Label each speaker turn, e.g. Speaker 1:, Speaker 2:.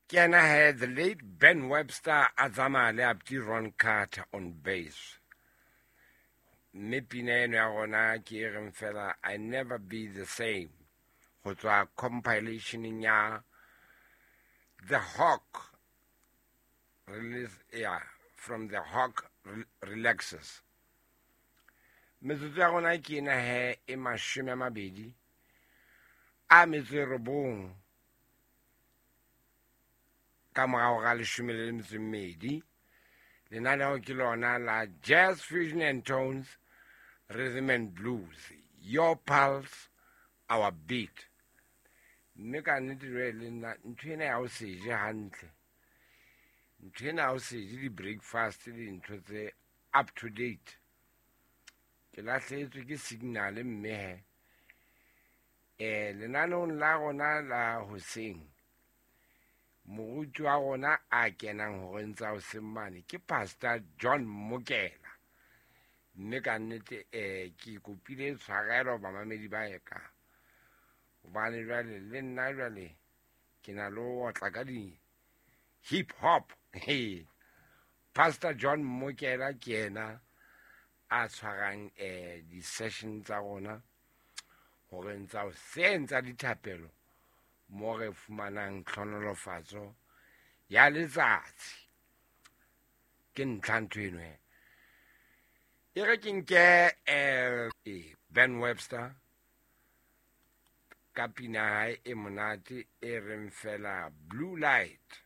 Speaker 1: Ke yena he, the late Ben Webster a tsamaya le Apti Ron Carter on bass. Mme pina eno ya rona ke e reng fela I Never Be The Same, go tswa compilationeng ya The Hawk release, yeah, from The Hawk Relaxes. Metsotso ya rona ke ena he e 29 ka morago ga 12. Lenaneo ke lona la Jazz Fusion and Tones, Rhythm and Blues, Your Pulse, Our Beat. Mme ka nnete jwale le nna ntho ena ya ho se je hantle, ntho ena ya ho se je di-breakfast le dintho tse up to date, ke lahlehetswe ke signal. Mme he lenaneong la rona la hoseng, moruti wa rona a kenang horeng tsa hoseng mane ke Pastor John Mokela. Mme ka nnete ke kopile tshwarelo bamamedi ba eka, hobane jwale le nna jwale ke na le ho otla ka di hip hop. Pastor John Mokela ke yena a tshwarang di-session tsa rona horeng tsa hoseng tsa dithapelo, mo re fumanang tlhonolofatso ya letsatsi. Ke ntlha ntho eno he. E re ke nke Ben Webster ka pina hae e monate e reng fela Blue Light.